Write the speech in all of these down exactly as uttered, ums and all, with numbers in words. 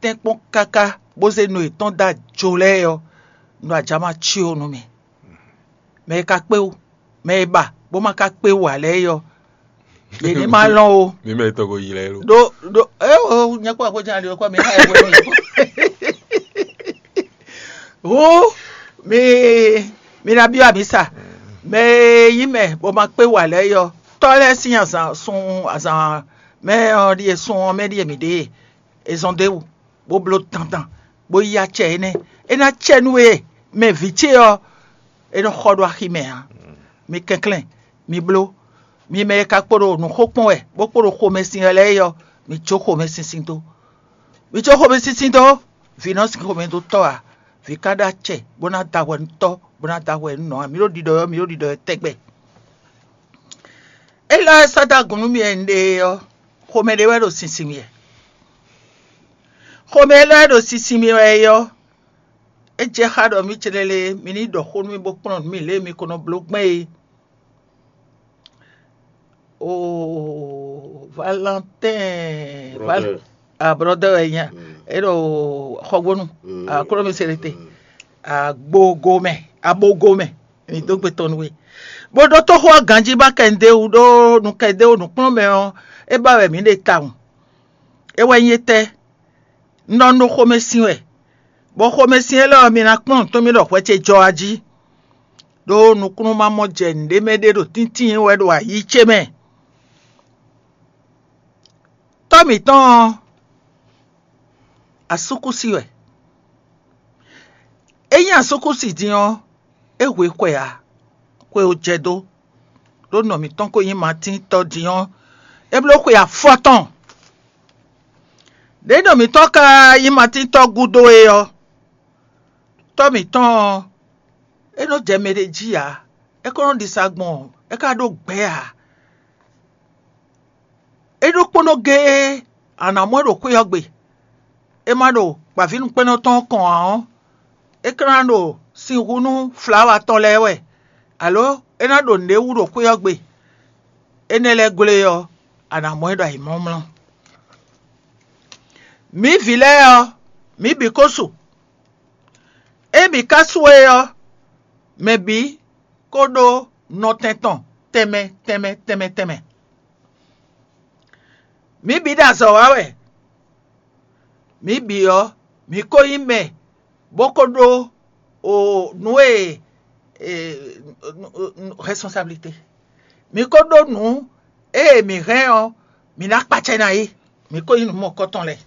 tɛ́nkpɔ́n káká bó zé no yětɔn dó ajo lɛ́ɛ ɔ́, un ɖo ajǎ ma cyó nú mi. Mɛ e ka kpé wú, mɛ e ba bó ma ka kpé wú ǎ lɛ́ɛ é ɔ́, yě ní ma lɔn o. Mi mɛ tɔn ko yi lɛ lo. Ɖó ɖó é o nyɛ kpɔ àkójá ali ɔkọ mi hã ɛ wɛ mi. Hú mi mi ná byɔ́ amǐ sa. Mɛ e nyí mɛ bó ma kpé wú ǎ lɛ́ɛ é ɔ́, tɔ́ lɛ́ɛ sín azǎn sun azǎn mɛ ɔ́ ɖíe sun ɔ́ mɛ ɖíe mǐ ɖe e zɔn dó é wú, bó bló dandan, bó yí acɛ énɛ́. É ná cɛ nú we mɛ vǐ ce ɔ́, é nɔ xɔ ɖó axi mɛ ǎ. Mi kɛnklɛ́n, mi bló, mi mɛ e ka kpo ɖo nǔ xo kpɔ́n wɛ, bó kpo ɖo xomɛsin wɛ lɛ́ɛ é ɔ́, mi jó xomɛsinsin dó. Mi jó xomɛsinsin dó, vǐ nɔ sin xomɛ dó tɔ́ ǎ. Vǐ ka ɖó acɛ bó ná da hwɛ nú tɔ́, bó ná da hwɛ nú nɔ ǎ. Mi ɖo ɖiɖɔ ɔ́, mi ɖo ɖiɖɔ ɔ́ tɛgbɛ. Élɔ́ e sɔ́ dó agun nú mì wɛ un ɖe é ɔ́, xomɛ ɖé wɛ ɖo sinsin mì wɛ. Xomɛ élɔ́ e ɖo sinsin mì wɛ é ɔ́, é jɛ xá ɖɔ mǐ céɖéle mi ní ɖɔ xó nú mì bó kplɔ́n nǔ mì lě e mi ko nɔ bló gbɛn é. Oo, Valentɛn, Val- Brother. Ah, brother wɛ nya. Mm. É ɖo xɔgbónu. Mm. Ah, kúrò mi se ɖe te. Mm. Agbogo mɛ, abogo mɛ. Mi dó gbe tɔn nú we. Bó ɖó tóxó ɔ́ ganjí ba kɛndéwu ɖó nú kɛndéwu nǔkplɔ́nmɛ ɔ́, é ba wɛ mǐ ɖe tawun. É wɛ nyí étɛ́? Un ɖɔ un ɖo xomɛsin wɛ, bɔ xomɛsin élɔ́ ɔ́, mi ná kplɔ́n nǔ tɔn mì ɖɔ hwɛ ce jɔ wá jí, ɖó nukúnnú ma mɔ jɛ nǔɖé mɛ ɖé ɖo tíntín wɛ ɖo ayǐ ce mɛ. Tɔ́ mǐtɔn ɔ́, asúkúsi wɛ. É nyí asúkúsi din ɔ́, é hwe xwe ǎ, xwe ò jɛ dó, ɖó nɔ mǐtɔn ko nyí Matín tɔ́ din ɔ́, é bló xwe afɔtɔn. Ɖěe nɔ mǐtɔn ka nyí Matín tɔ́ gúdo é ɔ́, tɔ́ mǐtɔn ɔ́, é nɔ jɛ mɛ ɖé jí ǎ; é ko nɔ ɖisa gbɔn, é ka ɖó gbɛ̌ ǎ. É ɖokpónɔ géé a nǎ mɔ ɛ ɖo xwé ɔ́ gbe; é ma ɖo gbǎvínǔkpɛ́nnɔ tɔn ɔ́ kɔn ǎ ɔ́, é ka ná ɖo sin hu nú flawa tɔn lɛ́ɛ wɛ, alǒ é ná ɖo nǔɖé wú ɖo xwé ɔ́ gbe. Énɛ́ lɛ́ɛ gblé ɔ́, a nǎ mɔ ɛ ɖo ayǐmlɔ́mlɔ́. Mǐ vǐ lɛ́ɛ ɔ́, mǐ bǐ ko su. Ée mǐ ka su é ɔ́, mɛ bǐ ko ɖó nɔtɛn tɔn tɛnmɛ tɛnmɛ tɛnmɛ tɛnmɛ. Mǐ bǐ ɖo azɔ̌ wa wɛ. Mǐ bǐ ɔ́, mǐ ko nyí mɛ bó ko ɖó o nǔ e e, responsabilité. Mǐ ko ɖó nǔ e mǐ hɛn ɔ́, mǐ ná kpacɛ ná é. Mǐ ko nyí nǔ mɔkɔtɔn lɛ́ɛ.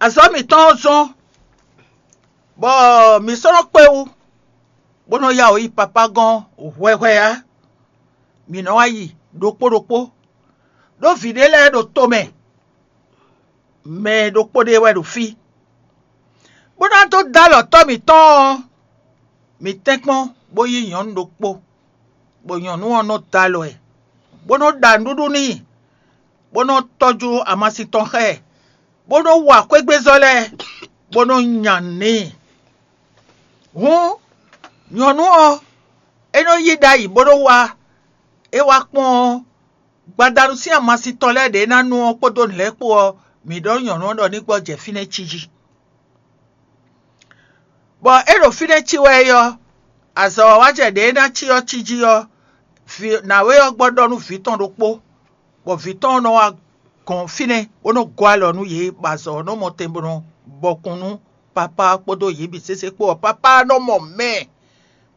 Azɔ̌ mǐtɔn ɔ́ zɔ́n, bɔ mǐ sɔ́ nɔ kpé wú, bó nɔ ya wǔ yi papá gɔ́n hwɛhwɛ ǎ. Mǐ nɔ wá yi ɖokpó ɖokpó, ɖó vǐ ɖé lɛ́ɛ ɖo tomɛ, mɛ ɖokpó ɖé wɛ ɖo fí, bó ná dó dó alɔ tɔ́ mǐtɔn ɔ́, mǐ tɛ́nkpɔ́n bó yí nyɔ̌nu ɖokpó, bɔ nyɔ̌nu ɔ́ nɔ dó alɔ ɛ, bó nɔ ɖa nǔɖuɖu n'i, bó nɔ tɔ́jú amasin tɔn xá ɛ, bó nɔ wa xwégbezɔ́ lɛ́ɛ, bó nɔ nya nǔ n'i. Hǔn nyɔ̌nu ɔ́, é nɔ yí ɖ'ayǐ bó nɔ wá; é wá kpɔ́n ɔ́, gbadanu sín amasin tɔn lɛ́ɛ ɖě ná nu ɔ́ kpódó nǔ lɛ́ɛ kpó ɔ́, mǐ ɖɔ nyɔ̌nu ɔ́ ɖɔ ní gbɔjɛ́ fínɛ́ cí jí. Bɔ é ɖo fínɛ́ cí wɛ é ɔ́, azɔ̌wawájɛ ɖě é ná cí ɔ́ cí jí ɔ́, vǐ nǎwe ɔ́ gbɔ ɖɔ nú vǐ tɔn ɖokpó, bɔ vǐ tɔn ɔ́ nɔ wá gɔn fínɛ́, bó nɔ gɔ́ alɔ nú yě, bɔ azɔ̌ ɔ́ nɔ mɔ tɛn bó nɔ bɔkun nú papá ɔ́ kpódó yě bǐ sésé kpó ɔ́, papá ɔ́ nɔ mɔ mɛ,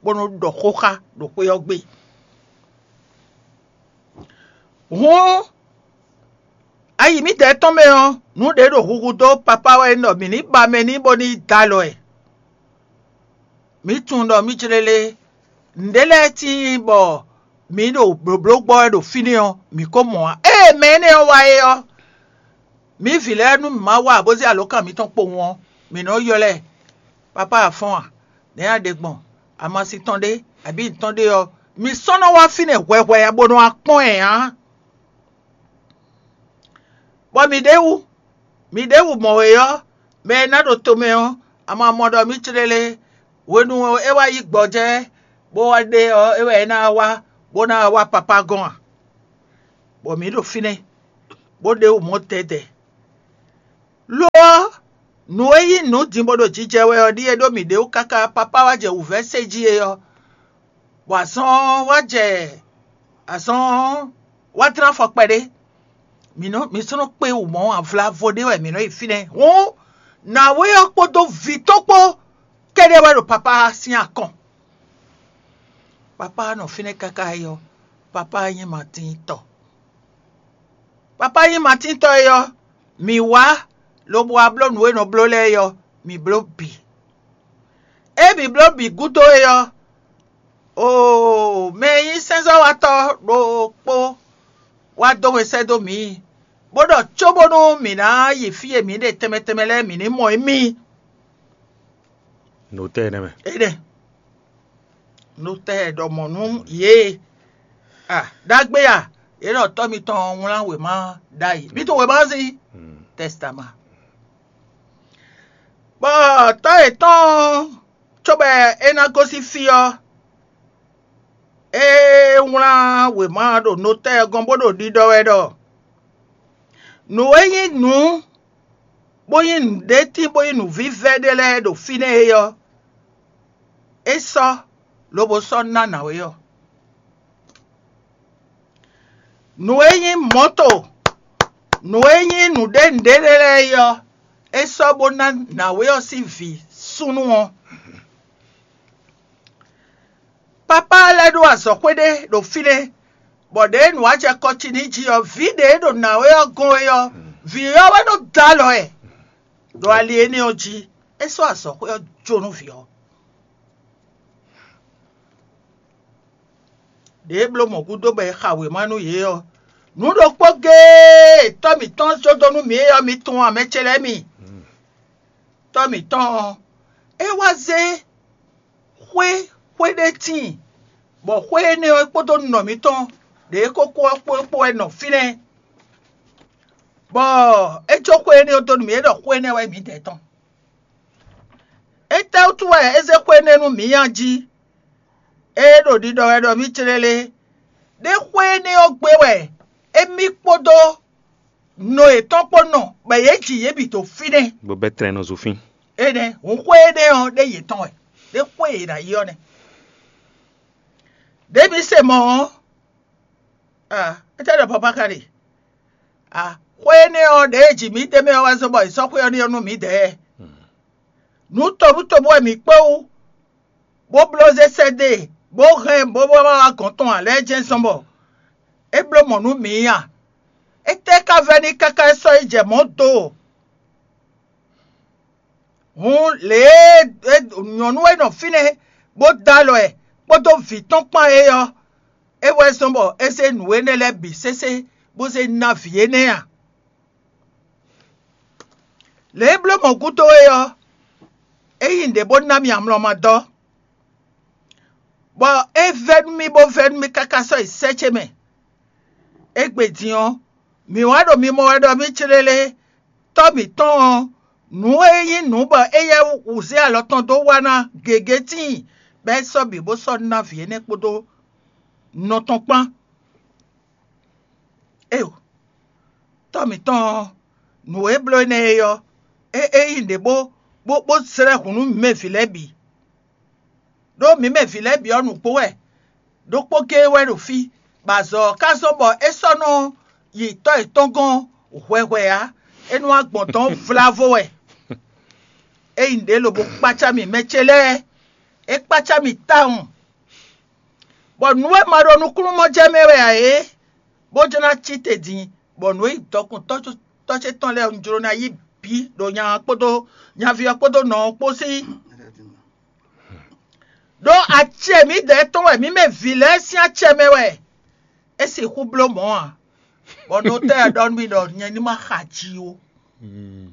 bó nɔ ɖɔ xó xá ɖo xwé ɔ́ gbe. Hǔn, ayi mǐdɛɛ tɔn mɛ ɔ́, nǔ ɖě ɖo huhu dó papá wɛ nyí ɖɔ mǐ ní ba mɛ n'i bó ní dó alɔ ɛ. Mǐ tunwun ɖɔ mǐ jlé lé, nǔɖé lɛ́ɛ tíin bɔ mǐ ɖo blǒbló gbɔ wɛ ɖo fínɛ́ ɔ́, mǐ ko mɔ ǎ. Ée mɛ énɛ́ ɔ́ wá é ɔ́, mǐ vǐ lɛ́ɛ nú mǐ ma wa ǎ bó zé alǒkan mǐtɔn kpowun ɔ́, mǐ nɔ ylɔ́ ɛ: "Papá a fɔ́n a? Nɛ̌ a ɖe gbɔn? Amasin tɔn ɖé, abǐ nǔ tɔn ɖé ɔ́, mi sɔ́ nɔ wá fínɛ́ hwɛhwɛ ǎ bó nɔ wá kpɔ́n ɛ ǎ." Bɔ mǐ ɖě wú, mǐ ɖěbǔ mɔ wě ɔ́, mɛ e ná ɖo tomɛ ɔ́, a ma mɔ ɖɔ mǐ clélé hwenu e é wá yí gbɔjɛ́ bó wá ɖe ɔ́, é wɛ é ná wá bó ná wá papá gɔ́n a? Bɔ mǐ ɖo fínɛ́, bó ɖe wú mɔ̌ dɛ̌dɛ̌. Lo ɔ́, nǔ e nyí nǔ din bó ɖo jijɛ wɛ ɔ́ ɖíe ɖó mǐɖée wú káká papá wá jɛ wǔvɛ́ sé jí é ɔ́, bɔ azɔn ɔ́ wá jɛ azɔn ɔ́ wá dlán afɔ kpɛɖé. Mǐ nɔ mǐ sɔ́ nɔ kpé wǔ mɔ̌ avlavo ɖé wɛ mǐ nɔ yi fínɛ́. Hǔn nǎwe ɔ́ kpódó vǐ tɔn kpó kɛ́ɖɛ́ wɛ ɖo papá sín akɔn. Papá nɔ fínɛ́ káká é ɔ́, papá nyí Matín tɔ. Papá nyí Matín tɔ é ɔ́, mǐ wá lobo wá bló nǔ e è nɔ bló lɛ́ɛ é ɔ́, mǐ bló bǐ. Ée mǐ bló bǐ gúdo é ɔ́, oo, mɛ e nyí sɛ́nzɔ́watɔ́ ɖokpó wá dó we sɛ́ dó mǐ, bó ɖɔ cóbónú mǐ ná yi fí e mǐ ɖe tɛnmɛ tɛnmɛ lɛ́ɛ mǐ ní mɔ émí. Notɛ́ nɛ́ mɛ. Énɛ́. Notɛ́ ɖɔ mɔ̌ nú yě. A ɖagbe a, yě ɖɔ tɔ́ mitɔn wlán wěma ɖ'ayǐ. Mí tún wěma sí. Tɛstama. Bɔ tɔ́ yětɔn cóbɔ é ná gosín fí ɔ́, é wlán wěma ɖo notɛ́ ɔ́ gɔ́n bó ɖo ɖiɖɔ wɛ ɖɔ nǔ e nyí nǔ bó nyí nǔɖétín bó nyí nǔvívɛ́ ɖé lɛ́ɛ ɖo fínɛ́ é ɔ́, é sɔ́ lobo sɔ́ ná nǎwe ɔ́. Nǔ e nyí mɔ̌to, nǔ e nyí nǔɖé nǔɖé lɛ́ɛ é ɔ́, é sɔ́ bó ná nǎwe ɔ́ sín vǐ súnnu ɔ́. Papá lɛ́ɛ ɖó azɔ̌xwé ɖé ɖo fínɛ́, bɔ ɖěe nǔ wá jɛ kɔ ci n'i jí ɔ́, vǐ ɖě e ɖo nǎwe ɔ́ gɔ́n é ɔ́, vǐ ɔ́ wɛ nɔ dó alɔ ɛ ɖo ali énɛ́ ɔ́ jí. É sɔ́ azɔ̌xwé ɔ́ jó nú vǐ ɔ́. Ɖěe bló mɔ̌ gúdo bɔ è xa wěma nú yě ɔ́, nǔ ɖokpó géé e tɔ́ mǐtɔn jó dó nú mǐ é ɔ́, mi tunwun a, mɛ ce lɛ́ɛ mi? Tɔ́ mǐtɔn ɔ́, é wá zé xwé xwé ɖé tíin, bɔ xwé énɛ́ ɔ́ kpódó nɔ mǐtɔn ɖě e kókó ɔ́ kpó é kpó wɛ nɔ fínɛ́, bɔ é jó xwé énɛ́ ɔ́ dó nú mǐ, é ɖɔ xwé énɛ́ wɛ mǐdɛɛ tɔn. Étɛ́wútu wɛ é zé xwé énɛ́ nú mǐ a jí? Ée ɖo ɖiɖɔ wɛ ɖɔ mì clélé, ɖé xwé énɛ́ ɔ́ gbe wɛ émí kpódó nɔ yětɔn kpó nɔ, bɔ yě ji yě bǐ dó fínɛ́. Bó bɛ́ tlɛn nɔ zofín. Énɛ́ hǔn xwé énɛ́ ɔ́ ɖé yětɔn wɛ, ɖé xwé e yě ná yi ɔ́ nɛ́. Ɖěbǔ se mɔ̌ ɔ́, a, étɛ́ ɖɔ papá ka ɖe? A, xwé énɛ́ ɔ́ ɖě e ji mǐ d'é mɛ ɔ́ wɛ zɔ́n bɔ è sɔ́ xwé ɔ́ ɖe ɔ́ nú mǐdɛɛ. Nǔ tobútobú wɛ mǐ kpé wú, bó bló zé sɛ́ dó e, bó hɛn bó bó wá wá gɔ̌n tɔn ǎ lɛ́ɛ jɛ́n zɔ́n bɔ é bló mɔ̌ nú mǐ a? Étɛ́ ka vɛ́ n'i káká é sɔ́ yi jɛ mɔ̌ do? Hǔn lě e nyɔ̌nu e nɔ fínɛ́ bó dó alɔ ɛ kpódó vǐ tɔn kpán é ɔ́, é wɛ zɔ́n bɔ é zé nǔ énɛ́ lɛ́ɛ bǐ sésé bó zé ná vǐ énɛ́ a? Lě e bló mɔ̌ gúdo é ɔ́, é nyí nǔɖé bó ná mì amlɔ ma dɔ́, bɔ é vɛ́ nú mì bó vɛ́ nú mì káká sɔ́ yi sɛ́ ce mɛ. Égbé din ɔ́, mǐ wá ɖo mimɔ wɛ ɖɔ mì clélé, tɔ́ mǐtɔn ɔ́, nǔ e nyí nǔ bɔ éyɛ́ wǔ zé alɔ tɔn dó wa ná gěgé tíin, bɔ é sɔ́ bǐ bó sɔ́ ná vǐ énɛ́ kpódó nɔ tɔn kpán. Éyo, tɔ́ mǐtɔn ɔ́, nǔ e bló énɛ́ é ɔ́, é é nyí nǔɖé bó bó bó zlɛ́ hǔn nú mǐ mɛ vǐ lɛ́ɛ bǐ. Ɖó mǐ mɛ vǐ lɛ́ɛ bǐ ɔ́, nǔgbó wɛ, ɖokpó géé wɛ ɖo fí, bɔ azɔ̌ ɔ́ ka zɔ́n bɔ é sɔ́ nɔ yi tɔ́ yětɔn gɔ́n hwɛhwɛ ǎ; é nɔ wá gbɔn dɔ̌n vlavo wɛ. É nyí nǔɖé lobo kpácá mì mɛ ce lɛ́ɛ, é kpácá mì tawun, bɔ nǔ e ma ɖo nukúnnú mɔ jɛ mɛ wɛ ǎ é, bó jló ná cí te din, bɔ nǔ e nyí dɔkun tɔ́ ce tɔn lɛ́ɛ un jló ná yí bǐ ɖo nya ɔ́ kpódó nyaví ɔ́ kpódó nɔ ɔ́ kpó sí. Ɖó acɛ mǐdɛɛ tɔn wɛ mǐ mɛ vǐ lɛ́ɛ sín acɛ mɛ wɛ é sixú bló mɔ̌ ǎ, bɔ notɛ́ ɔ́ ɖɔ nú mì ɖɔ nyɛ ní ma xa ji ó.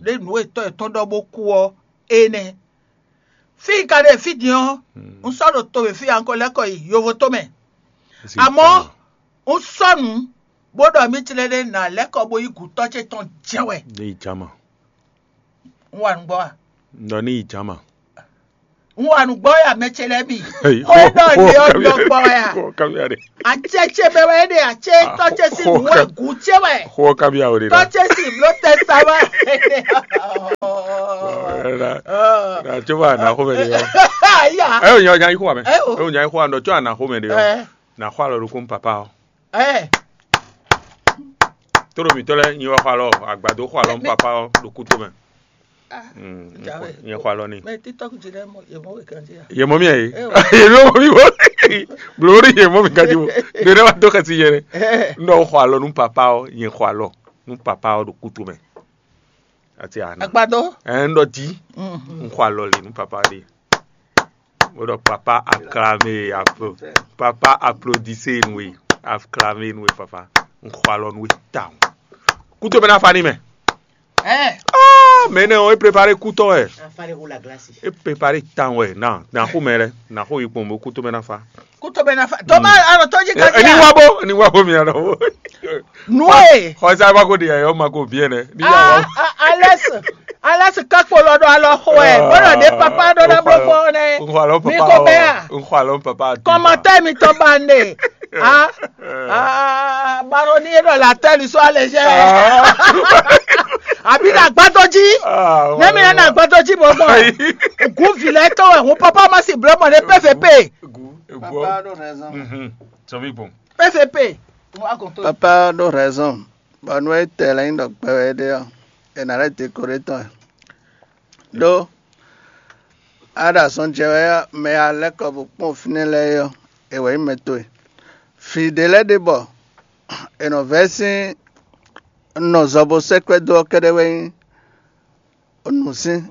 Ɖé nǔ e tɔ́ yětɔn ɖɔ bó kú ɔ́, énɛ́. Fí e ka ɖe fí din ɔ́, un sɔ́ ɖo to e fí a un ko lɛ́ kɔ yi yovo tomɛ. Amɔ̌, un sɔ́ nǔ, bó ɖɔ mì tlɛ́ɖɛ́ ná lɛ́ kɔ bó yi gǔ tɔ́ ce tɔn jɛ́n wɛ. Ní yi jama. Un wa nǔgbó a? Ɖɔ ní yi jama. Un wa nǔgbɔ wɛ amɛ ce lɛ́ɛ bǐ. Xó e ɖɔ yě ɔ́ ɖɔ gbɔ wɛ a? Xó kábíyá ɖe. Acɛ ce mɛ wɛ é ɖe, acɛ tɔ́ ce sín nǔ wɛ gǔ ce wɛ. Xó kábíyá wɛ ɖe. Tɔ́ ce sín bló tɛ sa wɛ. Na tso va na xó mɛ ɖe yɔ. Aya. Ɛ o nya nya yi xó amɛ. Ɛ o. Ɛ o nya yi xó amɛ ɖɔ tso ana xó mɛ ɖe yɔ. Ɛ. Na xó alɔ ɖokún papa ɔ. Ɛ. Tóɖo mǐtɔn lɛ́ɛ nyi wɛ xɔ alɔ, agbado xɔ alɔ nú papa ɔ ɖo kúto mɛ. Nyɛ xɔ alɔ n'i. Mɛ TikTok jí lɛ́ɛ mɔ yě mɔ wɛ kan jí a? Yě mɔ mì ɛ yě. Yě mɔ mì wɔ. Blǒ ɖi yě mɔ mì kan jí wo. Ɖe ɖe wá dó xɛsi yɛ ɖe. Nɔ xɔ alɔ nú papa ɔ, nyɛ xɔ alɔ nú papa ɔ ɖo kúto mɛ. Ati ana. Agbado. Ɛ ń ɖɔ jí. Ń xɔ alɔ lì nú papa ɖi. Ó ɖɔ papa acclamé, appro-, papa applaudissez nú we, acclamé nú we papa. Ń xɔ alɔ nú we tawun. Kúto mɛ ná fa ní mɛ. Ɛ. Ah, mɛ nɛ ɔ, é préparé kú tɔn wɛ. Afalé roule la glace. É préparé tawun wɛ. Na, na xó mɛ lɛ, na xó yi kpɔn bó kúto mɛ ná fa. Kúto mɛ ná fa. Tɔmá alɔ tó jí Ɛ, ɛ, ní wá bó, ní wá bó mi alɔ. Nue. Xɔsa bá ko di ayɔ ma ko biɛ nɛ. Ní yà wá. Alɛs, alɛs kakpo lɔ ɖo alɔ xo ɛ. Bɔlɔ ɖe papa ɖo na blɔ fɔ nɛ. N xɔ alɔ papa. Mi ko bɛ a? N xɔ alɔ papa. Kɔmatɛ mi tɔ ba ne. Ah. Ah, baro ni e ɖɔ la tɛ li so alɛ jɛ. Abi na gbadɔ ji. Ne mi na gbadɔ ji bɔ bɔ. Gun vi lɛ tɔ wɛ hun papa ma si blɔ mɔ ne P V P. Papa ɖo raison. Sɔmi gbɔn. P V P. Papa ɖo raison. Bɔ nú é tɛ lɛ́ nyí ɖɔ gbɛ wɛ é ɖe ɔ́, è nǎ lɛ́ dekoré tɔn ɛ. Ɖó á ɖo azɔn jɛ wɛ ɔ́, mɛ e a lɛ́ kɔ bó kpɔ́n fínɛ́ lɛ́ɛ é ɔ́, è wɛ nyí mɛ towe. Vǐ ɖé lɛ́ɛ ɖe bɔ è nɔ vɛ́ sín nɔ zɔ bó sɛ́ kwɛ́ dó ɔ́ kɛ́ɖɛ́ wɛ nyí nǔ sín.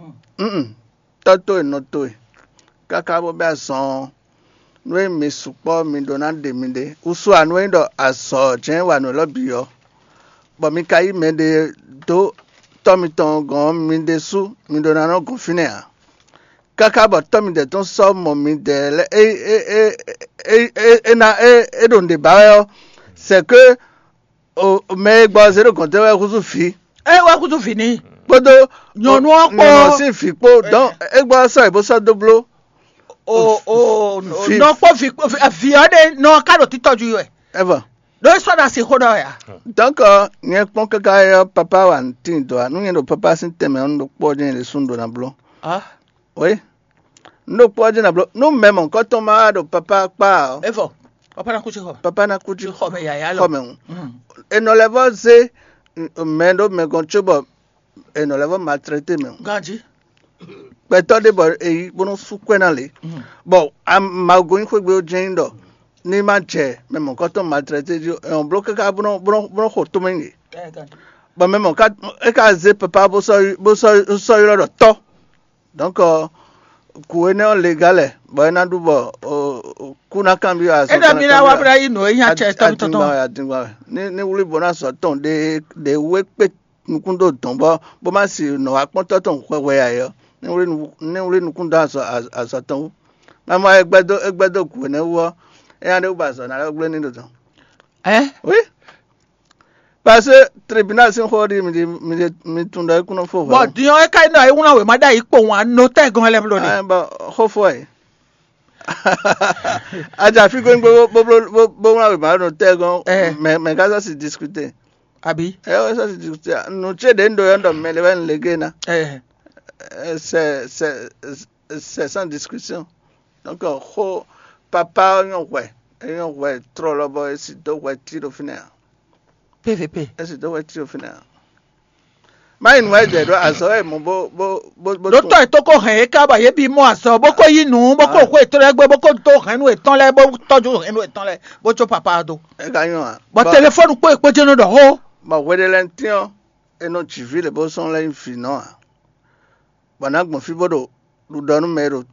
Tɔ́ towe, nɔ towe, káká bó bɛ́ azɔn ɔ́, nú e mi sukpɔ́ mi ɖó ná ɖe miɖée. Wúsú ǎ, nú é nyí ɖɔ azɔ̌ jɛ́n wa nǔ élɔ́ bǐ ɔ́, bɔ mi ka yí mɛɖé dó tɔ́ mitɔn gɔ̌n ɔ́, mi ɖésú mi ɖó ná nɔ gɔn fínɛ́ ǎ. Káká bɔ tɔ́ midɛɛ tɔn sɔ́ mɔ midɛɛ lɛ́ɛ é é é é é é ná é é ɖo nǔɖé ba wɛ ɔ́, c'est que o mɛ e gbɔ zé ɖo gɔ̌n tɛ́ wɛ húzú vǐ. É wɛ húzú vǐ n'i. Kpódó nyɔ̌nu ɔ́ kpó. Nyɔ̌nu ɔ́ sín vǐ kpó. Donc é gbɔ sɔ́ yě bó sɔ́ dó bló. O o nɔ kpó vǐ kpó vǐ ɔ́ ɖe nɔ ká ɖo títɔjú wɛ. Ɛvɔ. Ɖó é sɔ́ ɖo asi xó ɖɔ ya. Donc nyɛ kpɔ́n káká ɔ́ papa wa tíin dɔ̌ ǎ. Nú nyɛ ɖo papa sín tɛnmɛ ɔ́, un ɖo kpɔ́ ɔ́ jɛ́n yě ɖésú un ɖó ná bló. Ah. Oui. Un ɖo kpɔ́ ɔ́ jɛ́n ná bló. Nú mɛ mɔ̌hunkɔtɔn ma wá ɖo papa kpá ɔ́, Evɔ, papa ná kú xixɔ. Papa ná kú jí Xixɔ mɛ yǎyá lɔ. Xɔ mɛ hǔn. Mm. È nɔ lɛ́ vɔ́ zé mɛ ɖó mɛ gɔ́n cóbɔ è nɔ lɛ́ vɔ́ maltraité mɛ hǔn. Ganjí. Gbɛtɔ́ ɖé bɔ è yi bó nɔ́ sú kwɛ́ ná lě. Mm. Bɔ Mawu gɔ́n nyí xwé gbe ó jɛ́n nyí ɖɔ ní ma jɛ mɛ mɔ̌hunkɔtɔn maltraité jí, è nɔ bló káká bó nɔ́ bó nɔ́ bó nɔ́ xo tómɛ nyi yě. Ɛ ganjí. Bɔ mɛ mɔ̌ ká é ka zé papa bó sɔ́ bó sɔ́ sɔ́ ylɔ́ ɖɔ tɔ́. Donc kǔ énɛ́ ɔ́ le gá lɛ bɔ é ná ɖu bɔ kú ná kanbyɔ́ azɔn. É ɖɔ mi ná wá bó ná yí nǔ e nyí acɛ tɔn tɔn tɔn. Adingba wɛ, adingba wɛ. Ní ní wlí bó ná sɔ tɔn ɖe ɖe wú é kpé nukún dó dɔn bɔ bó má si nɔ wá kpɔ́n tɔ́ tɔn hwɛhwɛ ǎ é ɔ́, ní wlí nu- ní wlí nukún dó azɔ azɔ tɔn wú. Má mɔ é gbɛ́ dó é gbɛ́ dó kǔ énɛ́ wú ɔ́, é ná ɖe wú bɔ azɔ ná lɛ́ gblé ní ɖo dɔn. Ɛ. Oui. Parce que tribunal sín xó ɖi mi ɖi mi ɖi mi tunwun ɖɔ é kún nɔ fó hwɛ. Bɔ din ɔ́ é ka nyí ɖɔ é wlán wěma ɖ'ayǐ kpowun anotɛ́ gɔn lɛ́ɛ bló ɖe. Bɔ xó fɔ ɛ. Aja fí gbégbé bó bó bó bó wlán wěma ɖo tɛ́ gɔn. Mɛ mɛ ká sɔ́ si discuter. Abi. Ɛ wɛ sɔ́ si discuter nǔ ce ɖě un ɖo yɔ́ ɖɔ mɛ lɛ wɛ un lé gé ná. C'est c'est c'est sans discussion. Donc xó papa ɔ́ nyɔ́ hwɛ é nyɔ́ hwɛ trɔlɔ bɔ é si dó hwɛ tí ɖo fínɛ́ ǎ. P V P. É si dó hwɛ tí ɖo fínɛ́ ǎ. Má yi nǔ wɛ jɛ ɖó azɔ̌ wɛ mɔ bó bó bó bó. Ɖó tɔ́ yětɔn ko hɛn yě ká bɔ yě bǐ mɔ azɔ̌ bó ko yí nǔ bó ko xó yětɔn lɛ́ɛ gbé bó ko dó hɛ̌nnu yětɔn lɛ́ɛ bó tɔ́jú hɛ̌nnu yětɔn lɛ́ɛ bó có papa ɔ́ dó. É ka nyɔ́ ǎ. Bɔ telefɔ́nu kpó yě kpó jɛ́n nɔ ɖɔ xó. Bɔ hweɖelɛntín ɔ́, è nɔ jǐ vǐ lě bó sɔ́ lɛ́ nyí vǐ nɔ ǎ. Bɔ nǎ gbɔn fí bó ɖo ɖuɖɔ nú mɛ e ɖo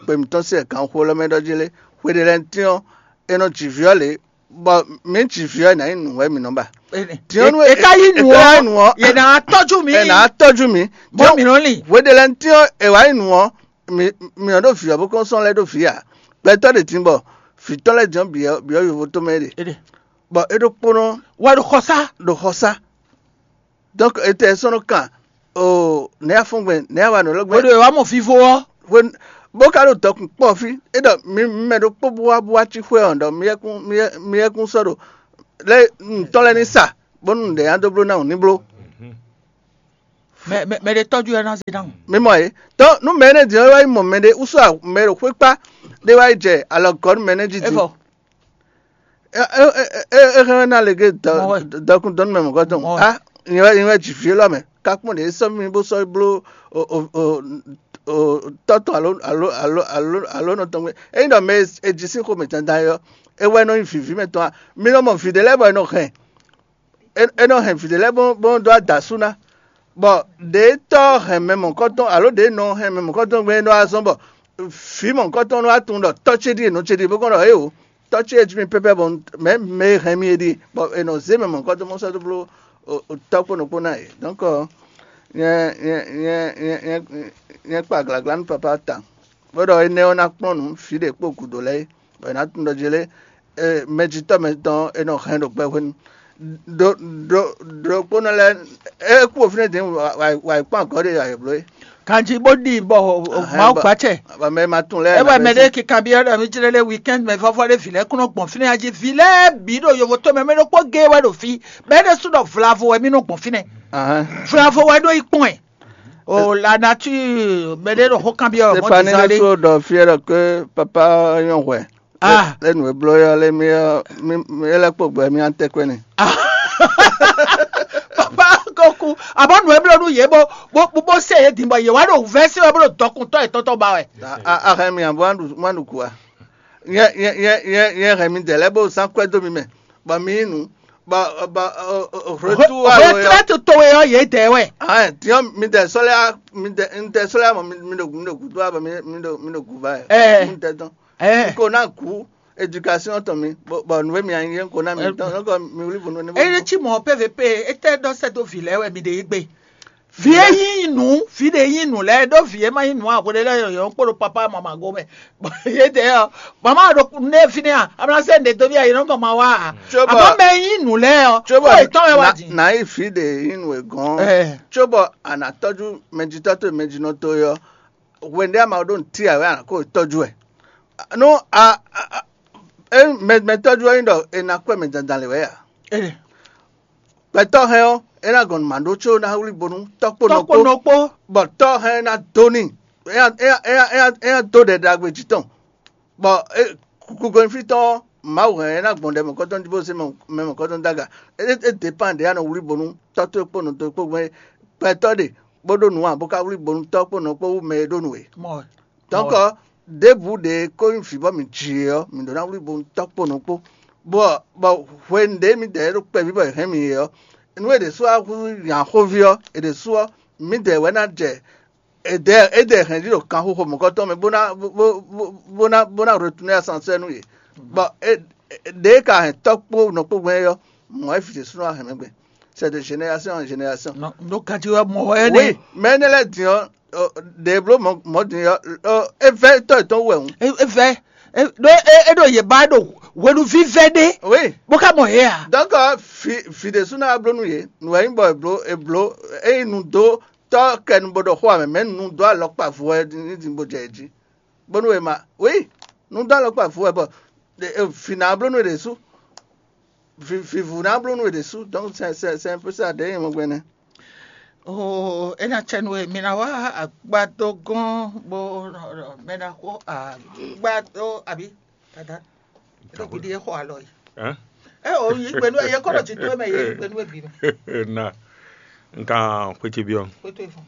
gbe mǐtɔn sín ɛganxo lɛ́ɛ mɛ ɖɔ jí lé, hweɖelɛntín ɔ́, è nɔ ji vǐ ɔ́ lě, bɔ mǐ ji vǐ ɔ́, è nǎ nyí nǔ wɛ mǐ nɔ ba. Din ɔ́ nú è ka yí nǔ ɔ́, yě ná tɔ́jú mǐ. È nǎ tɔ́jú mǐ. Bɔ mǐ nɔ lin. Hweɖelɛntín ɔ́, è wǎ nyí nǔ ɔ́, mǐ mǐ nɔ ɖó vǐ ɔ́ bó kɔn sɔ́ lɛ́ ɖó vǐ ǎ. Gbɛtɔ́ ɖě din bɔ vǐ tɔn lɛ́ɛ din ɔ́ bǐ ɔ́ bǐ ɔ́ yovo tɔn mɛ é ɖe. Bɔ é ɖokpónɔ wɛ ɖo xɔsá. Ɖo xɔsá. Donc etɛ sɔ́ nɔ kan o nɛ̌ a fɔ́n gbɛn nɛ̌ a wa nǔ élɔ́ gbɛn. Oɖo wá mɔ vivo ɔ́. Hwenu Bó ka ɖo dɔkun kpɔ́ fí, é ɖɔ mi mɛ ɖokpó bó wá bó wá cí xwé ɔ́, ɖɔ mi yɛkún mi yɛ- mi yɛkún sɔ́ ɖo lɛ́ ntɔ́ lɛ́ɛ ní sa, bónú nǔɖé nya dó bló ná wǔ ní bló. Mɛ mɛ mɛ ɖe tɔjú ɛ ná zé ná. Mi mɔ yě. Tɔ́ nú mɛ énɛ́ din ɔ́ wá yi mɔ mɛ ɖé wúsú mɛ ɖo xwé kpá ɖé wá yi jɛ alɔ gɔ̌ nú mɛ énɛ́ jí din. Evɔ É hɛn ná lě gé dɔkun dɔnú mɛ mɔ̌gɔ́ tɔn. Mɔ. Ah, nyɛ wɛ nyɛ wɛ jǐ fí élɔ́ mɛ. Ká kpɔ́n ɖě sɔ́ mì bó sɔ́ bló tɔ́ tɔn alo alo alo alo alo nɔ tɔn gbé. Ényí ɖɔ mɛ e jí sín xomɛ dandan é ɔ́, é wɛ nɔ nyí vǐví mɛ tɔn a? Mi nɔ mɔ vǐ ɖé lɛ́ɛ bɔ è nɔ hɛn, é nɔ hɛn vǐ ɖé lɛ́ɛ bó bó nɔ dó adasú ná. Bɔ ɖě tɔ́ hɛn mɛ mɔ̌kɔtɔn alo ɖě nɔ hɛn mɛ mɔ̌kɔtɔn gbé é nɔ wá zɔ́n bɔ vǐ mɔ̌kɔtɔn nɔ wá tunwun ɖɔ tɔ́ ce ɖíe nɔ ce ɖíe bó kɔn ɖɔ éwo tɔ́ ce e jí mi pɛ́pɛ́ bɔ mɛ mɛ e hɛn mi é ɖíe, bɔ è nɔ zé mɛ mɔ̌kɔtɔn mɔ sɔ́ dó bló tɔ́ kpó nɔ kpó ná é. Donc nyɛ nyɛ nyɛ nyɛ nyɛ kpa glagla nú papa ta. Bó ɖɔ énɛ́ ɔ́ ná kplɔ́n nǔ fí ɖě kpó gǔdo lɛ́ɛ é, bɔ è nǎ tunwun ɖɔ jí lé mɛjitɔ́ mɛtɔn e nɔ hɛn ɖo gbɛ hwenu ɖokpónɔ lɛ́ɛ é kú fínɛ́ din wǎ yi kpɔ́n agɔ̌ ɖé ayǐ bló é. Kanjí bó ɖi bɔ Mawu gbacɛ. Bɔ mɛ ma tunwun lɛ́ɛ. Ewɛ mɛ ɖé kikan byɔ́ ɖɔ mí jlé lé weekend mɛ vɔvɔ ɖé vǐ lɛ́ɛ kún nɔ gbɔn fínɛ́ jí vǐ lɛ́ɛ bǐ ɖo yovo tó mɛ mɛ ɖokpó géé wɛ ɖo fí bɛ́ ɖé sú ɖɔ vlavo wɛ mí nɔ gbɔn fínɛ́ vlavo wɛ ɖó yi kpɔn ɛ. O la nature mɛ ɖé ɖo xó kan byɔ́ mɔ Stéphanie dizan ne lé. so ɖɔ fí ɔ́ ɖɔ ke papa nyɔ́ hwɛ. Ah. Lé nu e bló yɔ lé mi ɔ mi mi é lɛ́ kpó gbɛ mi an tɛ́ kɔ́ ni. Papa ko ku abɔ nu eblɔ nu yě bó bó bó bó se yě din bɔ yě wá ɖo vɛsɛ wɛ bó ɖo dɔkuntɔ yě tɔtɔ ba wɛ. Ahɛn mi abo wan ɖu wan ɖu kua. Yɛ yɛ yɛ yɛ yɛ hɛn mi dɛ lɛ bó zan kwɛ dó mi mɛ bɔ mi yí nu bɔ bɔ retour alo yɔ. Retraite towe ɔ yě dɛ wɛ. Ahɛn tiɲɔ mi dɛ sɔlɛ mi dɛ mi dɛ sɔlɛ mɔ mi mi ɖo mi ɖo gudo abɔ mi mi ɖo mi ɖo guba yɛ. Ɛɛ. Mi dɛ dɔn. Ɛɛ. Ko na ku éducation tɔn mi bɔ bɔ nuvɛ mi anyi ko na mi tɔn nɔkɔ mi wuli bunu ne. Eye tsi mɔ P V P ete dɔ sɛ do vi lɛ wɛ mi de yi gbe. Vi e yi nu vi de yi nu lɛ do vi e ma yi nu a ko de lɛ yɔ kpo do papa mama go mɛ. Ye de yɔ mama do ne fi ne a amla sɛ ne do vi a yi nɔ kɔ ma wa a. Tso bɔ- Ama mɛ yi nu lɛ yɔ. Tso Ko etɔn wɛ wa bɔ di. Na yi fi de yi nu e gɔn. Ɛɛ. Tso bɔ anatɔju mɛjitɔ to mɛjinɔ to yɔ. Wende ama ɖo nti a wɛ a ko tɔju ɛ. No a a a e mɛ mɛ tɔju ɛ yin dɔ e na kɔ mɛ dandan le wɛ a. Ɛɛ. Gbɛtɔ hɛn ɔ e na gɔn ma ɖo tso na wuli bonu tɔkpo Tɔkpo nɔkpo nɔkpo. Bɔ tɔ hɛn na do ni e ya e ya e ya e ya e ya do ɖɛ ɖagbe jí tɔn. Bɔ e kukugo fí tɔn Mawu hɛn e na gbɔn ɖɛ mɔkɔtɔn jí bó se mɛ mɔkɔtɔn daga. E e dépend ɖe anɔ wuli bonu tɔ to kpo nɔ to kpo gbɛn gbɛtɔ ɖe bó ɖo nǔ a bó ka wuli bonu tɔ kpo nɔ kpo wú mɛ e ɖo nǔ e. Mɔ. Donc ɖěbǔ ɖe ko nyí vǐ bɔ mǐ ji é ɔ́, mǐ ɖó ná wlí bo tɔ́ kpo nɔ kpó. Bɔ bɔ hwenu ɖě mǐdɛɛ ɖo kpɛví bɔ è hɛn mì é ɔ́, nú è ɖě sú wá hú nya xóví ɔ́, è ɖě sú ɔ́, mǐdɛɛ wɛ ná jɛ èdè èdè hɛn jí ɖo kanxixo mɔ̌kɔtɔn mɛ bó ná bó bó bó ná bó ná retourner ascenseur nú yě. Bɔ é é- ɖě ka hɛn tɔ́ kpó nɔ kpó gbɛn é ɔ́, mɔ̌ é vǐ ɖě sú nɔ wá hɛn mɛ gbɛn. C'est de génération en génération. No no kati wɛ mɔ wɛ Oui, ne. Mais ne lɛ din ɔ, ɖe blo mɔ mɔ din ɔ, evɛ tɔ etɔn wɛ ŋu. Evɛ ɖo eɖo yeba ɖo hwenuvi vɛ ɖe. Oui. Bó ká mɔ he a. Donc fi fi de suna blo nu ye, nu wɛ bɔ eblo eblo eyi nu do tɔ kɛ nu bo ɖɔ xɔ amɛ mɛ nu do alɔkpa vo wɛ ni din bo jɛ ji. Bonu e ma, oui, nu do alɔkpa vo wɛ bɔ fi na blo nu de su. Vivu ná bló nú è ɖě sú, donc c'est c'est c'est un peu ça ɖě nyɛ mɔ gbɛnɛ. Oh, ena tsɛ nu e mi na wá agbadó gɔn bó mi na xó agbadó abi dada. Eɖo gidi e xɔ alɔ yi. Hein? E o yi gbenu e ye kɔ ɖo ti to mɛ ye yi gbenu e bi mɛ. Na nka xwetsi biɔ. Ko to ifun.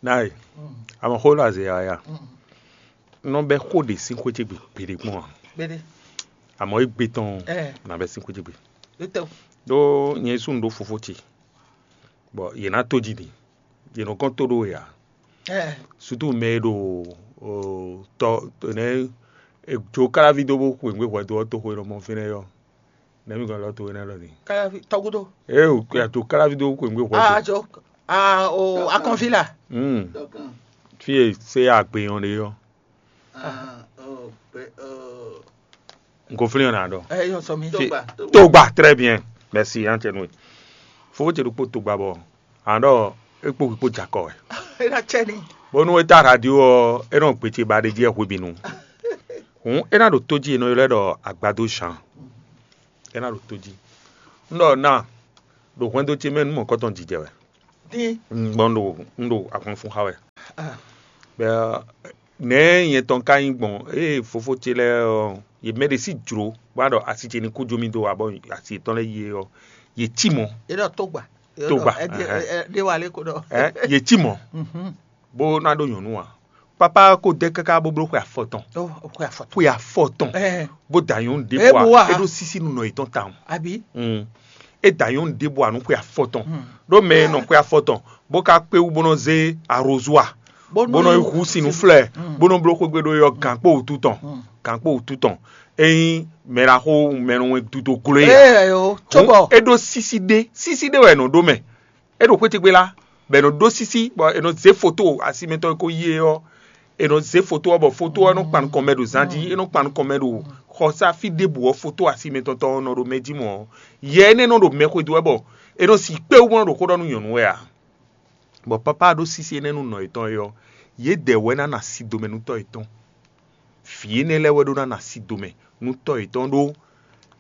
Nai. Ama xó la ze ya ya. Nɔ bɛ xó ɖe sín xwetsi gbe gbeɖe kpɔn a. Gbede. Àmọ́ égbé tɔn Ɛ nabɛ sín xwetsi gbe. Lutɔ. Ɖó nyɛ sú un ɖó fofó ce. Bɔ yě ná tó jí mi. Yě nɔ kɔn tó ɖó ya. Ɛ Surtout mɛ e ɖo o, tɔ nɛ jo kalavi dó bó xwengbe hwɛ dó ɔ́ toxo e nɔ mɔ fínɛ́ yɔ. Nɛ mi gɔn lɔ to énɛ́ lɔ ni. Kalavi tɔgudo. Ee o kuyà tó kalavi dó xwengbe hwɛ Ah dó. jo. Ah o akɔnvi la. Hmm. Fi e se agbe yɔn ɖe yɔ. N ko flin yɔn na ɖɔ. Ɛ yɔ sɔ mi. Fi- Togba, très bien. Merci an cɛ nue. Fofó ce ɖokpó togba bɔ. An ɖɔ ekpo kpó jakɔ wɛ. Ena tsɛ ni. Bónú é tá radio ɔ́, é nɔ gbe ce ba ɖé jí wɛ hwebǐnu. Hǔn é ná ɖo tó jí e nɔ ylɔ́ ɛ ɖɔ agbadó Jean. É ná ɖo tó jí. Un ɖɔ ná ɖo hwɛndo ce mɛ nú mɔ̌kɔtɔn jijɛ wɛ. Dín. Un gbɔn ɖo un ɖo ahwan fun xa wɛ. Bɛ nɛ̌ nyɛ tɔn ka nyí gbɔn ée fofó ce lɛ́ɛ ɔ́, yě mɛ ɖé sí jlǒ bó wá ɖɔ asi ce ní kú jó mì dó abɔ asi yětɔn lɛ́ɛ yi é ɔ́, yě cí mɔ̌. É ɖɔ tógba. Tógba, Tógba. Ɛ, ɛ, ɛ, ɖé wa lé ko ɖɔ. Ɛ, yě cí mɔ̌. Mhm. Bó ná ɖó nyɔ̌nu ǎ. Papa ko dɛ káká bó bló xwe afɔtɔn. Ó, xwe afɔtɔn. Xwe afɔtɔn. Ɛ. Bó da nyɔ̌nu ɖé É bó bó wá. É ɖó sísí nú nɔ yětɔn tawun. Abi. Mm. É da nyɔ̌nu ɖé bó wá nú xwe afɔtɔn. Mm. Ɖó mɛ e nɔ xwe afɔtɔn bó ka kpé wú bó nɔ zé arozua. Bó nɔ yi hu sin nú flɛ. Mm. Bó nɔ bló xwégbe ɖó yɔ gǎnkpó wútu tɔn. Mm. Gǎnkpó wútu tɔn. Ényí mɛ ɖaxó mɛ nɔ wɛn dudo gló é ǎ. Ée yo, Hǔn cóbɔ. É ɖó sísí ɖé, sísí ɖé wɛ è nɔ ɖó mɛ. É ɖo xwé ce gbe lá, bɔ è nɔ ɖó sísí, bɔ è nɔ zě foto asi mɛtɔn e ko yi é ɔ́. È nɔ zě foto ɔ́, bɔ foto ɔ́ nɔ kpan nukɔn mɛ ɖo zan jí, é nɔ kpan nukɔn mɛ ɖo xɔsá fí ɖěbǔ ɔ́, foto asi mɛtɔn tɔn ɔ́ nɔ ɖo mɛ jí mɔ̌. Yɛ énɛ́ nɔ ɖo mɛ xwedó wɛ, bɔ è nɔ si kpé wú bó nɔ ɖo xó ɖɔ nú nyɔ̌nu wɛ ǎ. Bɔ papá ɖó sísí énɛ́ nú nɔ yětɔn é ɔ́, yědɛɛ wɛ ná na si domɛ nú tɔ́ yětɔn. Vǐ énɛ́ lɛ́ɛ wɛ ɖó ná na si domɛ nú tɔ́ yětɔn ɖó.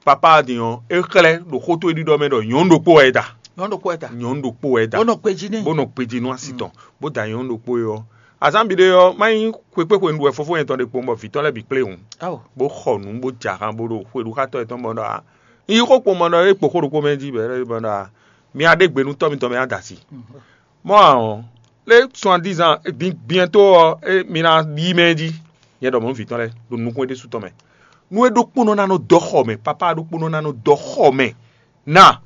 Papá din ɔ́, é xlɛ́ ɖo xó towe ɖiɖɔ mɛ ɖɔ nyɔ̌nu ɖokpó wɛ é da. Nyɔ̌nu ɖokpó wɛ da. Nyɔ̌nu ɖokpó wɛ é da. Bó nɔ gbejí n'i. Bó nɔ gbejí nú asi tɔn, bó da nyɔ̌nu ɖokpó é ɔ́. Azǎn bǐ ɖé ɔ́, má nyí xwekpé hwenu wɛ fofó nyɛ tɔn ɖe kpowun bɔ vǐ tɔn lɛ́ɛ bǐ kplé hǔn. Awo. Bó xɔ nǔ bó jɛ ahan bó ɖo xwe ɖu xá tɔ́ yětɔn bɔ ɖɔ a. Un yi xó kpowun bɔ ɖɔ é kpo xó ɖokpó mɛ jí bɔ é ɖɔ ɖɔ a. Mi a ɖe gbe nú tɔ́ mitɔn mɛ a da asi. Mɔ̌ ǎ ɔ́, lé suandizan din biɛ́ntó ɔ́, é mi ná ɖi mɛ jí. Nyɛ ɖɔ mɔ̌ vǐ tɔn lɛ́ɛ ɖo nukún é ɖésú tɔn mɛ. Nú é ɖokpónɔ ná nɔ dɔ xɔ mɛ, papá ɖokpónɔ ná nɔ dɔ xɔ mɛ. Na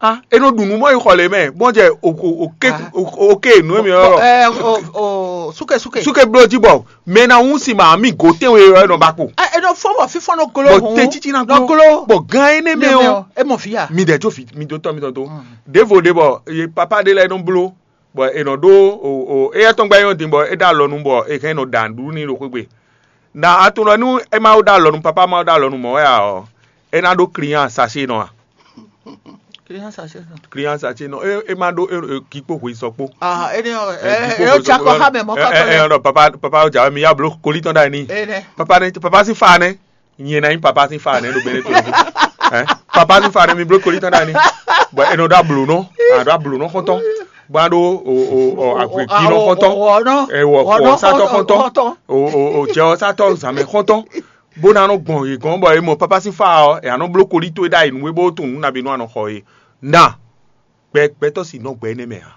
a é nɔ ɖu nǔ mɔ yi xɔ lě mɛ, bɔn jɛ oké oké nǔ e mi ɔ́. Ɛ, o, o, súke, súke. Súke bló jí bɔ mɛ ná wún si ma mi gǒ tɛ́nwe ɔ́ nɔ ba kpo. Ɛ, e nɔ fɔ bɔ fífɔ́n nɔ glo. Bɔ hǔn, tɛ́ títí ná nɔ glo. Glo. Bɔ gan énɛ́ mɛ ɔ́, e mɔ fíya. Mi dɛ jó fi mi dó tɔ́ mi tɔn tó. Ɖěvo ɖě bɔ ye papá ɖé lɛ́ɛ nɔ bló, bɔ è nɔ ɖó o o éyɛ́ tɔn gbá nyɔ́ din bɔ é ɖó alɔ nu bɔ è hɛn nɔ ɖa nǔɖuɖu n'i ɖo xwé gbe. Na a tunwun ɖɔ nú é ma ɖó alɔ nu, papá ma ɖó alɔ nu mɔ̌ wɛ ǎ ɔ́, é ná ɖó client sachet nɔ a? Client sachet nɔ. Client sachet nɔ, é é ma ɖó é- é- gǐ kpó hwe sɔ kpó. Ah, énɛ́ ɔ́, Ɛ, ɛ, gǐ kpó ɛ, hwe ó sɔ tsa kpó. Kɔ xá mɛ mɔ̌ Ɛ, kɔtɔ ɛ, lɛ. Ɛ, ɔ́, papa papa ó jà mí yá bló kolí tɔn ɖ'ayǐ n'i. Énɛ́. Papa ní papa sín fa nɛ́. Nyɛ ná nyí papa sín fa nɛ́ ɖo bɛ́nɛ tó. Ɛ, papa sín fa nɛ́ mi bló kolí tɔn ɖ'ayǐ n'i. Bɔ è nɔ ɖó ablǒnɔ, a ɖó ablǒnɔ xɔ́ntɔn, bó ná ɖó o o o agwěgbínɔ xɔ́ntɔn, Wɔnɔ. Ɛ, wɔ Wɔnɔ xɔ sátɔ xɔ́ntɔn, xɔ́ntɔn. O o o jɛ ɔ sátɔ zǎnmɛ xɔ́ntɔn, bó ná nɔ gbɔn yě gɔ́n bɔ è mɔ papa sín fa ɔ́, è nǎ nɔ bló kolí towe ɖ'ayǐ nú we bó tunwun nǔ nabí nú a nɔ xɔ é. Na gbɛ gbɛtɔ́ si nɔ gbɛ énɛ́ mɛ ǎ.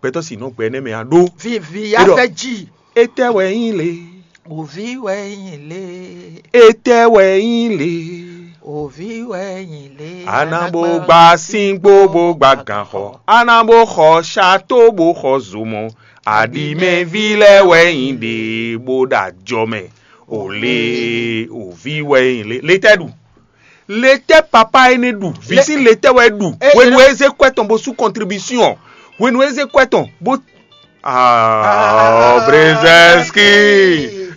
Gbɛtɔ́ si nɔ gbɛ énɛ́ mɛ ǎ ɖó. Vivi Eɖɔ. Afɛji. Etɛ wɛ nyí le. Òvi wɛ nyí le. Etɛ wɛ nyí le. Òvi wɛ nyí le. Anabo gba sín gbó bó gba gǎn xɔ. Anabo xɔ ṣato bó xɔ zomɔ. Aɖimɛví lɛ́ɛ wɛ nyí ɖě bó ɖo ajɔ mɛ. Ò le òvi wɛ nyí le. Letɛ ɖu. Letɛ papa énɛ́ ɖu. Vǐ Le- sín letɛ wɛ ɖu. E- Hwenu e- e zé kwɛ tɔn bó sú contribution. Hwenu e zé kwɛ tɔn bó. Ah, Brzezinski.